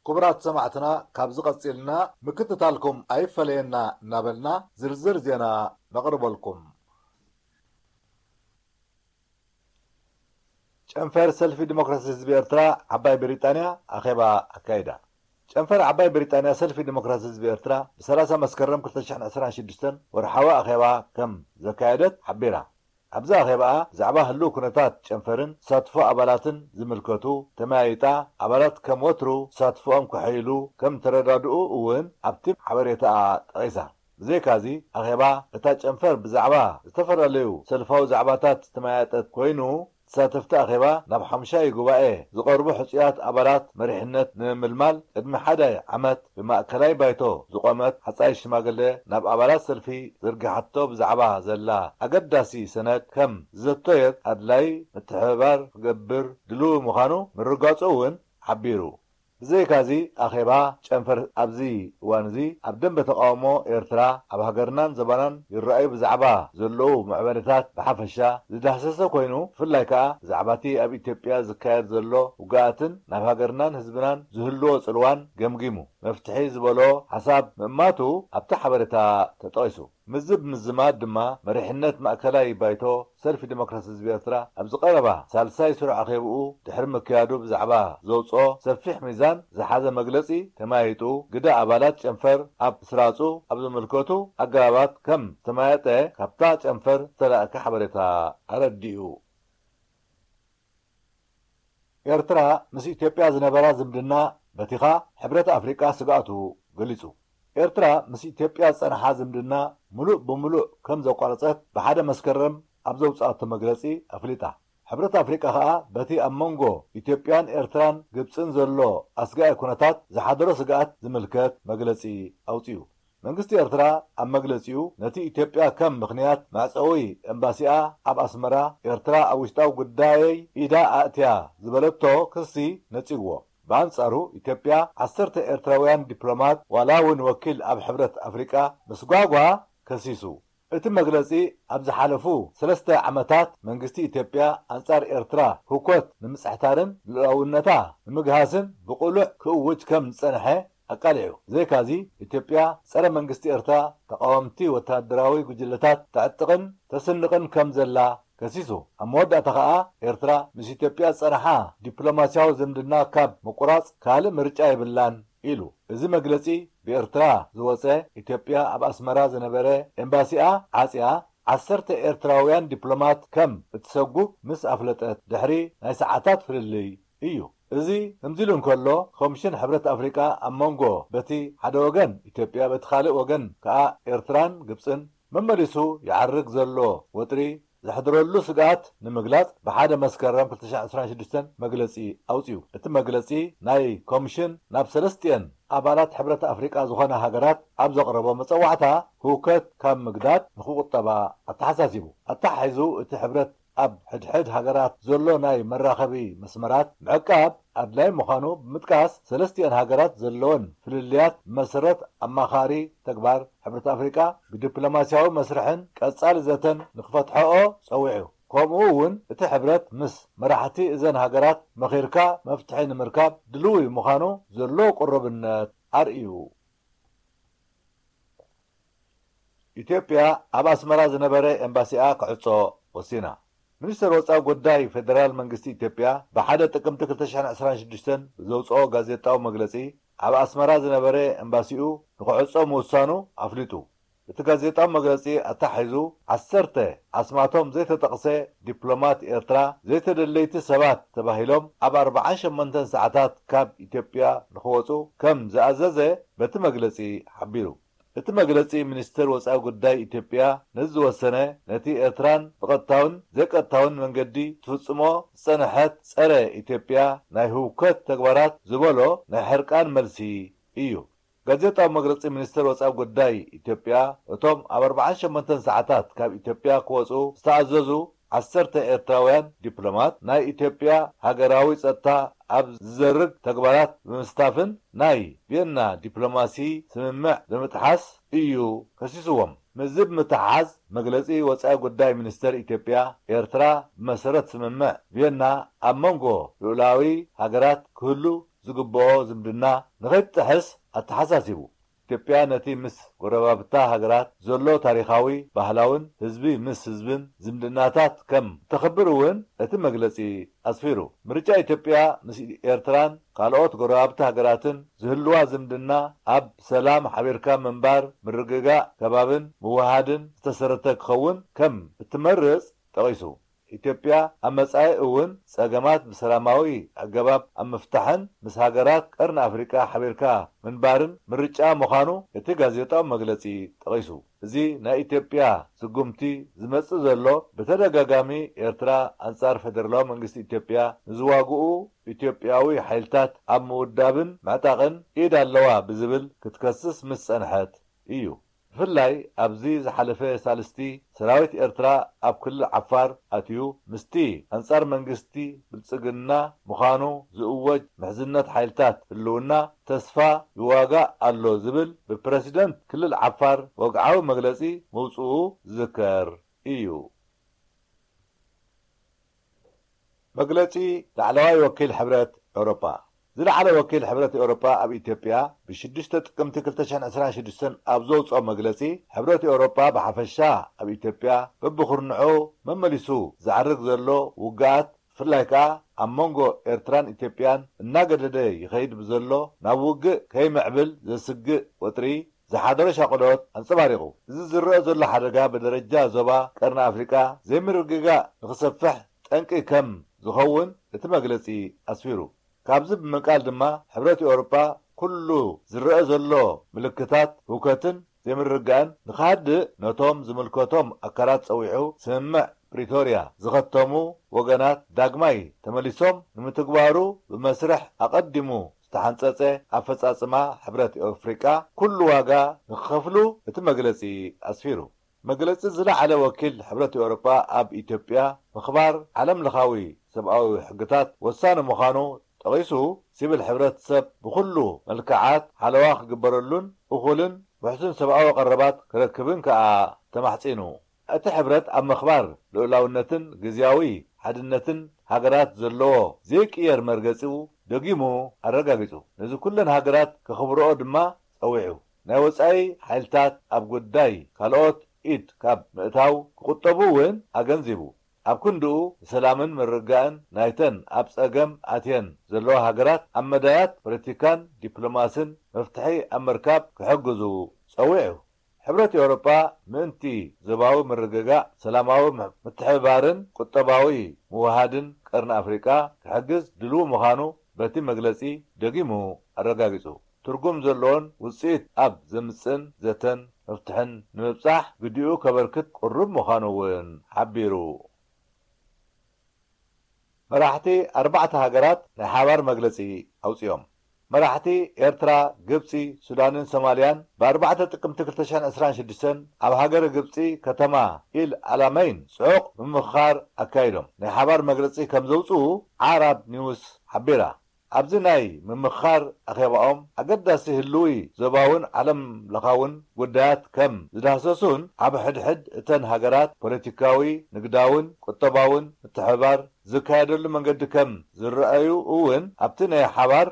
ክቡራት ሰማዕትና፣ ካብዚ ቀጺልና ምክትታልኩም ኣይፈለየና እናበልና ዝርዝር ዜና ነቕርበልኩም። ጨንፈር ሰልፊ ዲሞክራሲ ህዝቢ ኤርትራ ዓባይ ብሪጣንያ ኣኼባ ኣካይዳ። ጨንፈር ዓባይ ብሪጣንያ ሰልፊ ዲሞክራሲ ህዝቢ ኤርትራ ብ30 መስከረም ክልተ ሽሕን ዕስራን ሽዱሽተን ወርሓዊ ኣኼባ ከም ዘካየደት ሓቢራ። ኣብዚ ኣኼባኣ ብዛዕባ ህልው ኩነታት ጨንፈርን ተሳትፎ ኣባላትን ዝምልከቱ ተመያይጣ፣ ኣባላት ከም ወትሩ ተሳትፎኦም ከሐይሉ ከም ተረዳድኡ እውን ኣብቲ ሓበሬታኣ ጠቒሳ። ብዘይካዚ፣ ኣኼባ እታ ጨንፈር ብዛዕባ ዝተፈላለዩ ሰልፋዊ ዛዕባታት ዝተመያየጠት ኮይኑ፣ ተሳተፍቲ ኣኼባ ናብ ሓሙሻይ ጉባኤ ዝቐርቡ ሕጹያት ኣባላት መሪሕነት ንምምልማል ቅድሚ ሓደ ዓመት ብማእከላይ ባይቶ ዝቖመት ሓጻይ ሽማግለ ናብ ኣባላት ሰልፊ ዘርጊሓቶ ብዛዕባ ዘላ ኣገዳሲ ሰነድ ከም ዝዘተየት ኣድላይ ምትሕብባር ክገብር ድሉው ምዃኑ ምርጋጹ እውን ሓቢሩ። ብዘይካዚ ኣኼባ ጨንፈር ኣብዚ እዋን እዚ ኣብ ደንበ ተቃውሞ ኤርትራ ኣብ ሃገርናን ዘባናን ይረኣዩ ብዛዕባ ዘለዉ ምዕባለታት ብሓፈሻ ዝዳህሰሰ ኮይኑ፣ ብፍላይ ከኣ ብዛዕባ እቲ ኣብ ኢትዮጵያ ዝካየድ ዘሎ ውግኣትን ናብ ሃገርናን ህዝብናን ዝህልዎ ጽልዋን ገምጊሙ መፍትሒ ዝበሎ ሓሳብ ምእማቱ ኣብቲ ሓበሬታ ተጠቒሱ። ምዝብ ምዝማድ ድማ መሪሕነት ማእከላይ ባይቶ ሰልፊ ዲሞክራሲ ህዝቢ ኤርትራ ኣብዚ ቀረባ ሳልሳይ ስሩዕ ኣኼብኡ ድሕሪ ምክያዱ ብዛዕባ ዘውጽኦ ሰፊሕ ሚዛን ዝሓዘ መግለጺ ተመያይጡ፣ ግደ ኣባላት ጨንፈር ኣብ ስራጹ ኣብ ዝምልከቱ ኣገባባት ከም ዝተመያየጠ ካብታ ጨንፈር ዝተላእከ ሓበሬታ ኣረዲኡ። ኤርትራ ምስ ኢትዮጵያ ዝነበራ ዝምድና በቲኻ ሕብረት ኣፍሪቃ ስግኣቱ ገሊጹ። ኤርትራ ምስ ኢትዮጵያ ዝጸንሓ ዝምድና ምሉእ ብምሉእ ከም ዘቋረጸት ብሓደ መስከረም ኣብ ዘውጽኣቶ መግለጺ ኣፍሊጣ። ሕብረት ኣፍሪቃ ከኣ በቲ ኣብ መንጎ ኢትዮጵያን ኤርትራን ግብጽን ዘሎ ኣስጋኢ ኩነታት ዝሓደሮ ስግኣት ዝምልከት መግለጺ ኣውጺኡ። መንግስቲ ኤርትራ ኣብ መግለጺኡ ነቲ ኢትዮጵያ ከም ምኽንያት መዕጸዊ ኤምባሲኣ ኣብ ኣስመራ ኤርትራ ኣብ ውሽጣዊ ጉዳየይ ኢዳ ኣእትያ ዝበለቶ ክሲ ነጺግዎ። ብኣንጻሩ ኢትዮጵያ ዓሰርተ ኤርትራውያን ዲፕሎማት ዋላ እውን ወኪል ኣብ ሕብረት ኣፍሪቃ ምስጓጓ ከሲሱ። እቲ መግለጺ ኣብ ዝሓለፉ ሰለስተ ዓመታት መንግስቲ ኢትዮጵያ ኣንጻር ኤርትራ ህውከት ንምጽሕታርን ልኡላውነታ ንምግሃስን ብቕሉዕ ክእውጅ ከም ዝጸንሐ ኣቃሊዑ። ብዘይካዚ ኢትዮጵያ ጸረ መንግስቲ ኤርትራ ተቓወምቲ ወተሃደራዊ ጉጅለታት ተዕጥቕን ተስንቕን ከም ዘላ ከሲሱ። ኣብ መወዳእታ ከኣ ኤርትራ ምስ ኢትዮጵያ ዝጸንሓ ዲፕሎማስያዊ ዝምድና ካብ ምቁራጽ ካልእ ምርጫ የብላን ኢሉ። እዚ መግለጺ ብኤርትራ ዝወጸ፣ ኢትዮጵያ ኣብ ኣስመራ ዝነበረ ኤምባሲኣ ዓጽያ ዓሰርተ ኤርትራውያን ዲፕሎማት ከም እትሰጉግ ምስ ኣፍለጠት ድሕሪ ናይ ሰዓታት ፍልልይ እዩ። እዚ ከምዚ ኢሉ እንከሎ፣ ኮሚሽን ሕብረት ኣፍሪቃ ኣብ መንጎ በቲ ሓደ ወገን ኢትዮጵያ በቲ ካልእ ወገን ከኣ ኤርትራን ግብጽን መመሊሱ ይዓርግ ዘሎ ወጥሪ ዘሕድረሉ ስግኣት ንምግላጽ ብሓደ መስከረም ክልተ ሽሕን ዕስራን ሽዱሽተን መግለጺ ኣውጺኡ። እቲ መግለጺ ናይ ኮሚሽን ናብ ሰለስቲኤን ኣባላት ሕብረት ኣፍሪቃ ዝኾና ሃገራት ኣብ ዘቕረቦ መጸዋዕታ ህውከት ካብ ምግዳድ ንኽቑጠባ ኣተሓሳሲቡ። ኣተሓሒዙ እቲ ሕብረት ኣብ ሕድሕድ ሃገራት ዘሎ ናይ መራኸቢ መስመራት ምዕቃብ ኣድላይ ምዃኑ ብምጥቃስ፣ ሰለስቲኤን ሃገራት ዘለወን ፍልልያት ብመሰረት ኣማኻሪ ተግባር ሕብረት ኣፍሪቃ ብዲፕሎማስያዊ መስርሕን ቀጻሊ ዘተን ንክፈትሐኦ ጸዊዑ። ከምኡ እውን እቲ ሕብረት ምስ መራሕቲ እዘን ሃገራት መኺርካ መፍትሒ ንምርካብ ድልዊ ምዃኑ ዘለዎ ቅሩብነት ኣርእዩ። ኢትዮጵያ ኣብ ኣስመራ ዝነበረ ኤምባሲኣ ክዕጾ ወሲና። ሚኒስተር ወጻኢ ጉዳይ ፌደራል መንግስቲ ኢትዮጵያ ብሓደ ጥቅምቲ ክልተ ሽሕን ዕስራን ሽዱሽተን ብዘውጽኦ ጋዜጣዊ መግለጺ፣ ኣብ ኣስመራ ዝነበረ ኤምባሲኡ ንክዕጾ ምውሳኑ ኣፍሊጡ። እቲ ጋዜጣዊ መግለጺ ኣተሓሒዙ፣ ዓሰርተ ኣስማቶም ዘይተጠቕሰ ዲፕሎማት ኤርትራ ዘይተደለይቲ ሰባት ተባሂሎም ኣብ ኣርብዓን ሸሞንተን ሰዓታት ካብ ኢትዮጵያ ንክወጹ ከም ዝኣዘዘ በቲ መግለጺ ሓቢሩ። እቲ መግለጺ ሚኒስተር ወጻኢ ጉዳይ ኢትዮጵያ ነዚ ዝወሰነ፣ ነቲ ኤርትራን ብቐጥታውን ዘይቀጥታውን መንገዲ ትፍጽሞ ዝጸንሐት ጸረ ኢትዮጵያ ናይ ህውከት ተግባራት ዝበሎ ናይ ሕርቃን መልሲ እዩ። ጋዜጣዊ መግለጺ ሚኒስተር ወጻኢ ጉዳይ ኢትዮጵያ፣ እቶም ኣብ ኣርብዓን ሸሞንተን ሰዓታት ካብ ኢትዮጵያ ክወጹ ዝተኣዘዙ ዓሰርተ ኤርትራውያን ዲፕሎማት ናይ ኢትዮጵያ ሃገራዊ ጸጥታ ኣብ ዝዘርግ ተግባራት ብምስታፍን ናይ ቪየና ዲፕሎማሲ ስምምዕ ብምጥሓስ እዩ ከሲስዎም። ምስዚ ብምትሓሓዝ መግለጺ ወጻኢ ጉዳይ ሚኒስተር ኢትዮጵያ፣ ኤርትራ ብመሰረት ስምምዕ ቪየና ኣብ መንጎ ልኡላዊ ሃገራት ክህሉ ዝግብኦ ዝምድና ንኸይትጥሕስ ኣተሓሳሲቡ። ኢትዮጵያ ነቲ ምስ ጎረባብታ ሃገራት ዘሎ ታሪኻዊ፣ ባህላውን ህዝቢ ምስ ህዝብን ዝምድናታት ከም እተኽብር እውን እቲ መግለጺ ኣስፊሩ። ምርጫ ኢትዮጵያ ምስ ኤርትራን ካልኦት ጎረባብቲ ሃገራትን ዝህልዋ ዝምድና ኣብ ሰላም ሓቢርካ ምንባር፣ ምርግጋእ ከባብን ምውሃድን ዝተሰረተ ክኸውን ከም እትመርጽ ጠቒሱ። ኢትዮጵያ ኣብ መጻኢ እውን ጸገማት ብሰላማዊ ኣገባብ ኣብ ምፍታሕን ምስ ሃገራት ቀርኒ ኣፍሪቃ ሓቢርካ ምንባርን ምርጫ ምዃኑ እቲ ጋዜጣዊ መግለጺ ጠቒሱ። እዚ ናይ ኢትዮጵያ ስጉምቲ ዝመጽእ ዘሎ ብተደጋጋሚ ኤርትራ ኣንጻር ፈደራላዊ መንግስቲ ኢትዮጵያ ንዝዋግኡ ኢትዮጵያዊ ሓይልታት ኣብ ምውዳብን ምዕጣቕን ኢድ ኣለዋ ብዝብል ክትከስስ ምስ ጸንሐት እዩ። ብፍላይ ኣብዚ ዝሓለፈ ሳልስቲ ሰራዊት ኤርትራ ኣብ ክልል ዓፋር ኣትዩ ምስቲ ኣንጻር መንግስቲ ብልጽግና ምዃኑ ዝእወጅ ምሕዝነት ሓይልታት ህልውና ተስፋ ይዋጋእ ኣሎ ዝብል ብፕረሲደንት ክልል ዓፋር ወግዓዊ መግለጺ ምውጽኡ ዝዝከር እዩ። መግለጺ ላዕለዋይ ወኪል ሕብረት ኤውሮጳ። ዝለዓለ ወኪል ሕብረት ኤውሮጳ ኣብ ኢትዮጵያ ብሽዱሽተ ጥቅምቲ ክልተ ሽሕን ዕስራን ሽዱሽተን ኣብ ዘውፅኦ መግለጺ፣ ሕብረት ኤውሮጳ ብሓፈሻ ኣብ ኢትዮጵያ በብኹርንዑ መመሊሱ ዘዕርግ ዘሎ ውግኣት፣ ብፍላይ ከኣ ኣብ መንጎ ኤርትራን ኢትዮጵያን እናገደደ ይኸይድ ብዘሎ ናብ ውግእ ከይምዕብል ዘስግእ ወጥሪ ዝሓደሮ ሻቕሎት ኣንጸባሪቑ። እዚ ዝረአ ዘሎ ሓደጋ ብደረጃ ዞባ ቀርኒ ኣፍሪቃ ዘይምርግጋእ ንኽሰፍሕ ጠንቂ ከም ዝኸውን እቲ መግለጺ ኣስፊሩ። ካብዚ ብምንቃል ድማ ሕብረት ኤውሮጳ ኩሉ ዝረአ ዘሎ ምልክታት ህውከትን ዘይምርግጋእን ንኽሃድእ ነቶም ዝምልከቶም ኣካላት ጸዊዑ ስምምዕ ፕሪቶርያ ዝኸተሙ ወገናት ዳግማይ ተመሊሶም ንምትግባሩ ብመስርሕ ኣቐዲሙ ዝተሓንጸጸ ኣፈጻጽማ ሕብረት ኣፍሪቃ ኩሉ ዋጋ ንኽኸፍሉ እቲ መግለጺ ኣስፊሩ። መግለጺ ዝለዓለ ወኪል ሕብረት ኤውሮጳ ኣብ ኢትዮጵያ ምኽባር ዓለም ለኻዊ ሰብኣዊ ሕግታት ወሳኒ ምዃኑ ጠቒሱ፣ ሲቪል ሕብረተሰብ ብኹሉ መልክዓት ሓለዋ ክግበረሉን እኹልን ውሕስን ሰብኣዊ ቀረባት ክረክብን ከኣ ተማሕጺኑ። እቲ ሕብረት ኣብ ምኽባር ልኡላውነትን ግዝያዊ ሓድነትን ሃገራት ዘለዎ ዘይቅየር መርገጺኡ ደጊሙ ኣረጋጊጹ። ነዚ ኩለን ሃገራት ከኽብርኦ ድማ ጸዊዑ። ናይ ወጻኢ ሓይልታት ኣብ ጉዳይ ካልኦት ኢድ ካብ ምእታው ክቑጠቡ እውን ኣገንዚቡ። ኣብ ክንድኡ ንሰላምን ምርግጋእን ናይተን ኣብ ጸገም ኣትየን ዘለዋ ሃገራት ኣብ መዳያት ፖለቲካን ዲፕሎማስን መፍትሒ ኣብ ምርካብ ክሕግዙ ጸዊዑ። ሕብረት ኤውሮጳ ምእንቲ ዞባዊ ምርግጋእ፣ ሰላማዊ ምትሕብባርን ቁጠባዊ ምውሃድን ቀርኒ ኣፍሪቃ ክሕግዝ ድልው ምዃኑ በቲ መግለጺ ደጊሙ ኣረጋጊጹ። ትርጉም ዘለዎን ውጽኢት ኣብ ዘምጽእን ዘተን መፍትሕን ንምብጻሕ ግዲኡ ከበርክት ቅሩብ ምዃኑ እውን ሓቢሩ። መራሕቲ ኣርባዕተ ሃገራት ናይ ሓባር መግለጺ ኣውጺኦም። መራሕቲ ኤርትራ፣ ግብጺ፣ ሱዳንን ሶማልያን ብ ኣርባዕተ ጥቅምቲ ክልተ ሽሕን ዕስራን ሽዱሽተን ኣብ ሃገረ ግብጺ ከተማ ኢል ኣላመይን ጽዑቕ ምምኽኻር ኣካይዶም ናይ ሓባር መግለጺ ከም ዘውጽኡ ዓራብ ኒውስ ሓቢራ። ኣብዚ ናይ ምምኽኻር ኣኼባኦም ኣገዳሲ ህልዊ ዞባውን ዓለም ለኻውን ጉዳያት ከም ዝዳህሰሱን ኣብ ሕድሕድ እተን ሃገራት ፖለቲካዊ፣ ንግዳውን ቁጠባውን ምትሕብባር ዝካየደሉ መንገዲ ከም ዝረኣዩ እውን ኣብቲ ናይ ሓባር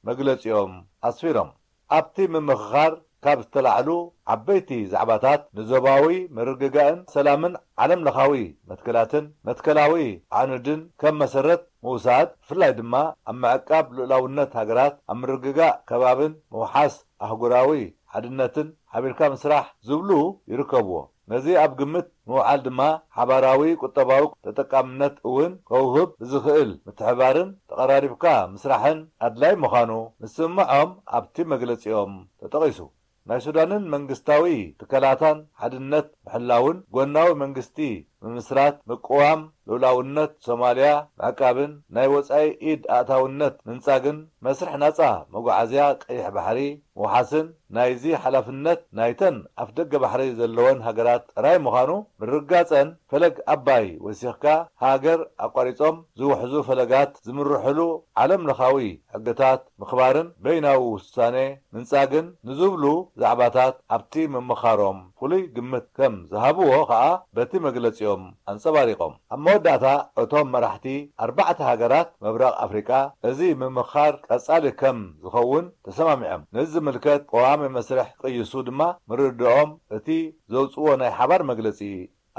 መግለጺኦም ኣስፊሮም። ኣብቲ ምምኽኻር ካብ ዝተላዕሉ ዓበይቲ ዛዕባታት ንዞባዊ ምርግጋእን ሰላምን ዓለም ለኻዊ መትከላትን መትከላዊ ኣዕኑድን ከም መሰረት ምውሳድ፣ ብፍላይ ድማ ኣብ ምዕቃብ ልኡላውነት ሃገራት፣ ኣብ ምርግጋእ ከባብን ምውሓስ ኣህጉራዊ ሓድነትን ሓቢርካ ምስራሕ ዝብሉ ይርከብዎ። ነዚ ኣብ ግምት ምውዓል ድማ ሓባራዊ ቁጠባዊ ተጠቃምነት እውን ከውህብ ብዝኽእል ምትሕባርን ተቐራሪብካ ምስራሕን ኣድላይ ምዃኑ ምስምዖም ኣብቲ መግለጺኦም ተጠቒሱ። ናይ ሱዳንን መንግስታዊ ትካላታን ሓድነት ምሕላውን፣ ጎናዊ መንግስቲ ምምስራት፣ ምቅዋም ልኡላውነት ሶማልያ ምዕቃብን ናይ ወጻኢ ኢድ ኣእታውነት ምንጻግን መስርሕ ናጻ መጓዓዝያ ቀይሕ ባሕሪ ምውሓስን ናይዚ ሓላፍነት ናይተን ኣፍደገ ባሕሪ ዘለወን ሃገራት ጥራይ ምዃኑ ምርጋጸን፣ ፈለግ ኣባይ ወሲኽካ ሃገር ኣቋሪጾም ዝውሕዙ ፈለጋት ዝምርሕሉ ዓለም ለኻዊ ሕግታት ምኽባርን በይናዊ ውሳኔ ምንጻግን ንዝብሉ ዛዕባታት ኣብቲ ምምኻሮም ፍሉይ ግምት ከም ዝሃብዎ ከኣ በቲ መግለጺኦም ኣንጸባሪቖም። ኣብ መወዳእታ እቶም መራሕቲ ኣርባዕተ ሃገራት ምብራቕ ኣፍሪቃ እዚ ምምኻር ቀጻሊ ከም ዝኸውን ተሰማሚዖም። ነዚ ዝምልከት ቀዋሚ መስርሕ ክቕይሱ ድማ ምርድኦም እቲ ዘውጽዎ ናይ ሓባር መግለጺ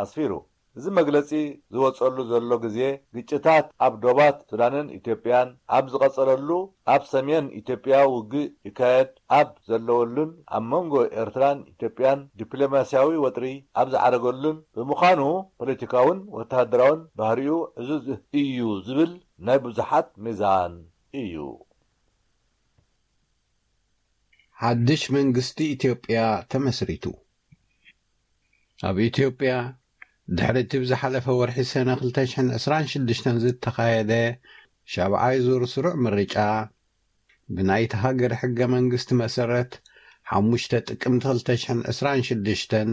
ኣስፊሩ። እዚ መግለጺ ዝወጸሉ ዘሎ ግዜ፣ ግጭታት ኣብ ዶባት ሱዳንን ኢትዮጵያን ኣብ ዝቐጸለሉ፣ ኣብ ሰሜን ኢትዮጵያ ውግእ ይካየድ ኣብ ዘለወሉን ኣብ መንጎ ኤርትራን ኢትዮጵያን ዲፕሎማስያዊ ወጥሪ ኣብ ዝዓረገሉን ብምዃኑ፣ ፖለቲካውን ወተሃደራውን ባህሪኡ ዕዙዝ እዩ ዝብል ናይ ብዙሓት ሚዛን እዩ። ሓድሽ መንግስቲ ኢትዮጵያ ተመስሪቱ። ኣብ ኢትዮጵያ፣ ድሕሪ እቲ ብዝሓለፈ ወርሒ ሰነ ክልተ ሽሕን ዕስራን ሽዱሽተን ዝተኻየደ ሻብዓይ ዙር ስሩዕ ምርጫ፣ ብናይቲ ሃገር ሕገ መንግስቲ መሰረት፣ ሓሙሽተ ጥቅምቲ ክልተ ሽሕን ዕስራን ሽዱሽተን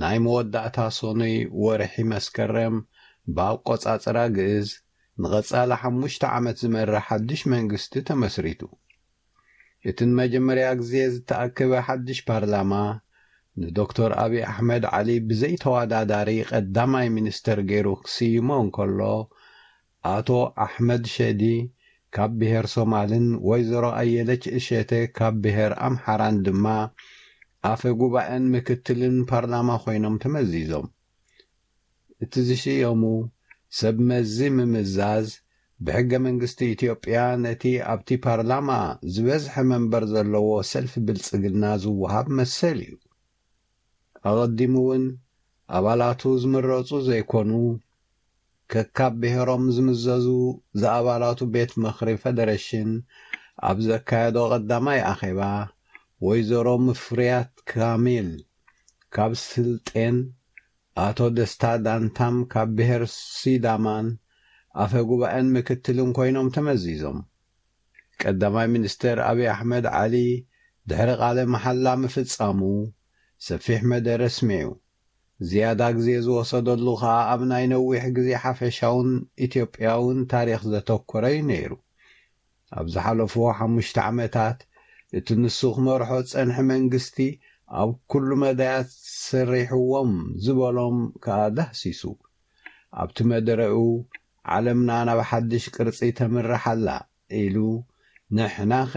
ናይ መወዳእታ ሰኑይ ወርሒ መስከረም ብኣቆጻጽራ ግእዝ፣ ንቐጻሊ ሓሙሽተ ዓመት ዝመርሕ ሓድሽ መንግስቲ ተመስሪቱ። እቲ ንመጀመርያ ግዜ ዝተኣከበ ሓድሽ ፓርላማ፣ ንዶክተር ኣብይ ኣሕመድ ዓሊ ብዘይተወዳዳሪ ቀዳማይ ሚኒስተር ገይሩ ክስይሞ እንከሎ፣ ኣቶ ኣሕመድ ሸዲ ካብ ብሄር ሶማልን ወይዘሮ ኣየለች እሸቴ ካብ ብሄር ኣምሓራን ድማ ኣፈ ጉባኤን ምክትልን ፓርላማ ኮይኖም ተመዚዞም። እቲ ዝሽየሙ ሰብ መዚ ምምዛዝ፣ ብሕገ መንግስቲ ኢትዮጵያ ነቲ ኣብቲ ፓርላማ ዝበዝሐ መንበር ዘለዎ ሰልፊ ብልጽግና ዝወሃብ መሰል እዩ። ኣቐዲሙ እውን ኣባላቱ ዝምረጹ ዘይኮኑ፣ ከካብ ብሄሮም ዝምዘዙ ዝኣባላቱ ቤት ምኽሪ ፈደረሽን ኣብ ዘካየዶ ቀዳማይ ኣኼባ፣ ወይዘሮ ምፍርያት ካሚል ካብ ስልጤን ኣቶ ደስታ ዳንታም ካብ ብሄር ሲዳማን ኣፈ ጉባኤን ምክትልን ኮይኖም ተመዚዞም። ቀዳማይ ሚኒስተር ኣብይ ኣሕመድ ዓሊ ድሕሪ ቃለ መሓላ ምፍጻሙ ሰፊሕ መደረ ኣስሚዑ። ዝያዳ ግዜ ዝወሰደሉ ከኣ ኣብ ናይ ነዊሕ ግዜ ሓፈሻውን ኢትዮጵያውን ታሪኽ ዘተኮረ እዩ ነይሩ። ኣብ ዝሓለፉ ሓሙሽተ ዓመታት እቲ ንሱ ክመርሖ ዝጸንሐ መንግስቲ ኣብ ኩሉ መዳያት ሰሪሕዎም ዝበሎም ከኣ ዳህሲሱ። ኣብቲ መደረኡ ዓለምና ናብ ሓድሽ ቅርጺ ተምርሕ ኣላ ኢሉ፣ ንሕናኸ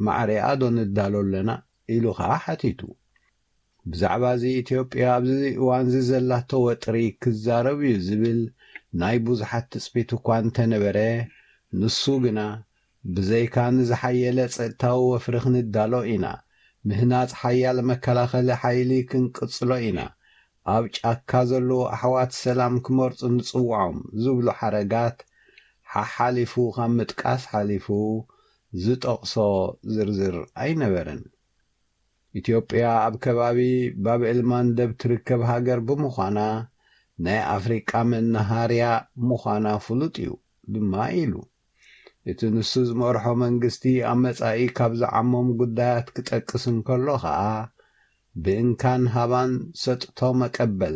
ማዕሪኣ ዶ ንዳሎ ኣለና ኢሉ ከኣ ሓቲቱ። ብዛዕባ እዚ ኢትዮጵያ ኣብዚ እዋን እዚ ዘላቶ ወጥሪ ክዛረብ እዩ ዝብል ናይ ብዙሓት ትጽቢት እኳ እንተነበረ፣ ንሱ ግና ብዘይካ ንዝሓየለ ጸጥታዊ ወፍሪ ክንዳሎ ኢና፣ ምህናጽ ሓያል መከላኸሊ ሓይሊ ክንቅጽሎ ኢና፣ ኣብ ጫካ ዘለዉ ኣሕዋት ሰላም ክመርጹ ንጽውዖም ዝብሉ ሓረጋት ሓሓሊፉ ካብ ምጥቃስ ሓሊፉ ዝጠቕሶ ዝርዝር ኣይነበረን። ኢትዮጵያ ኣብ ከባቢ ባብኤል ማንደብ ትርከብ ሃገር ብምዃና፣ ናይ ኣፍሪቃ መናሃርያ ምዃና ፍሉጥ እዩ ድማ ኢሉ። እቲ ንሱ ዝመርሖ መንግስቲ ኣብ መጻኢ ካብ ዝዓሞም ጉዳያት ክጠቅስ እንከሎ ኸኣ፣ ብእንካን ሃባን ሰጥቶ መቀበል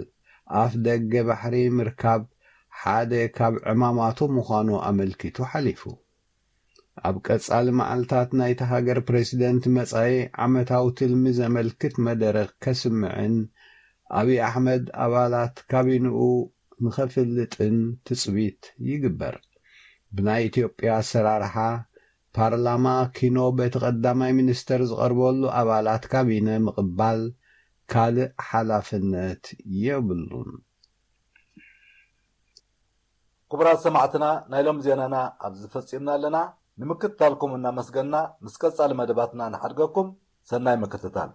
ኣፍ ደገ ባሕሪ ምርካብ ሓደ ካብ ዕማማቱ ምዃኑ ኣመልኪቱ ሓሊፉ። ኣብ ቀጻሊ መዓልታት ናይታ ሃገር ፕሬዚደንት መጻኢ ዓመታዊ ትልሚ ዘመልክት መደረ ከስምዕን ኣብይ ኣሕመድ ኣባላት ካቢንኡ ንኸፍልጥን ትጽቢት ይግበር። ብናይ ኢትዮጵያ ኣሰራርሓ ፓርላማ ኪኖ በቲ ቀዳማይ ሚኒስተር ዝቐርበሉ ኣባላት ካቢነ ምቕባል ካልእ ሓላፍነት የብሉን። ክቡራት ሰማዕትና፣ ናይ ሎም ዜናና ኣብዚ ፈጺምና ኣለና። ንምክትታልኩም እናመስገና፣ ምስ ቀጻሊ መደባትና ንሓድገኩም። ሰናይ ምክትታል።